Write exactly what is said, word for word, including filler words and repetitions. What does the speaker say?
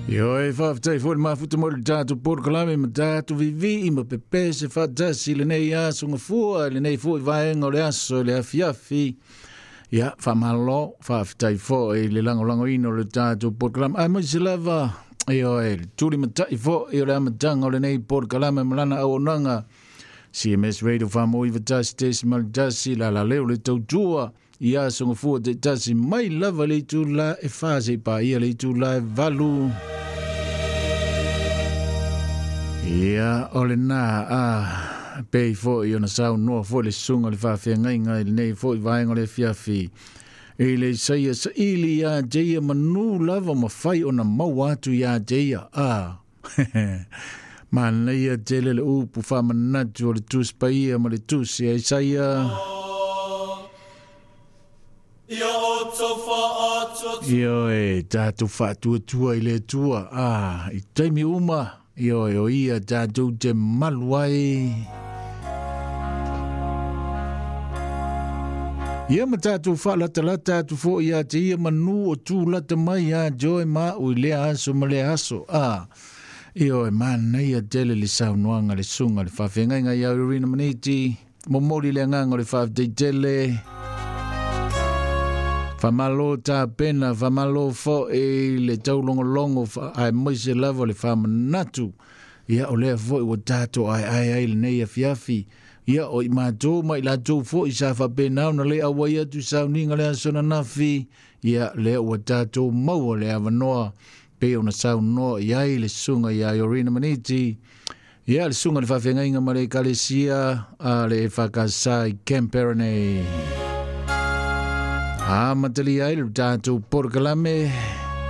Ioe, faafetai foi le mafuta mo le tatou polokalame ma tatou vivii ma pepese faatasi i lenei aso gafua, lenei foi vaega o le aso i le afiafi. Ia, faamalo, faafetai foi i le lagolagoina o le tatou polokalame. Aemaise lava, ioe, le tulimatai foi o le amataga o lenei polokalame ma lana auaunaga. C M S Radio faamoiva tasi tesimale tasi, la la leo le tautua i aso gafua taitasi mai lava le itula e fa seia paia le itula e valu. Ia, o lena a pei foi ona saunoa foi le susuga o le faafeagaiga i lenei foi vaega o le afiafi. I le Isaia saili ia te ia manu lava ma fai ona maua atu ia te ia. A, manaia tele le upu faamanatu o le Tusi Paia ma le Tusi a Isaia. Ioe, tatou faatuatua i le Atua. A, i taimi uma, ioe, o ia tatou te malu ai. Ia ma tatou faalatalata atu foi ia te ia manu o tūlata mai ia te oe ma au i lea aso ma lea aso. A, ioe, manaia tele le saunoaga le susuga le faafeagaiga ia Irina Maniti, momoli le agaga o le faafetai tele. Faamalo tapena, faamalo foi le taulogologo, aemaise lava le faamanatu. Ia, o lea foi ua tatou aeae ai lenei afiafi. Ia, o i matou ma i latou foi sa faapena ona le auai atu i sauniga le aso ananafi. Ia, lea ua tatou maua le avanoa pei ona saunoa i ai le susuga ia Irina Maniti. Ia, le susuga le faafeagaiga ma le ekalesia a le E F K S i Canberra nei. Amatalia ai le tatou polokalame.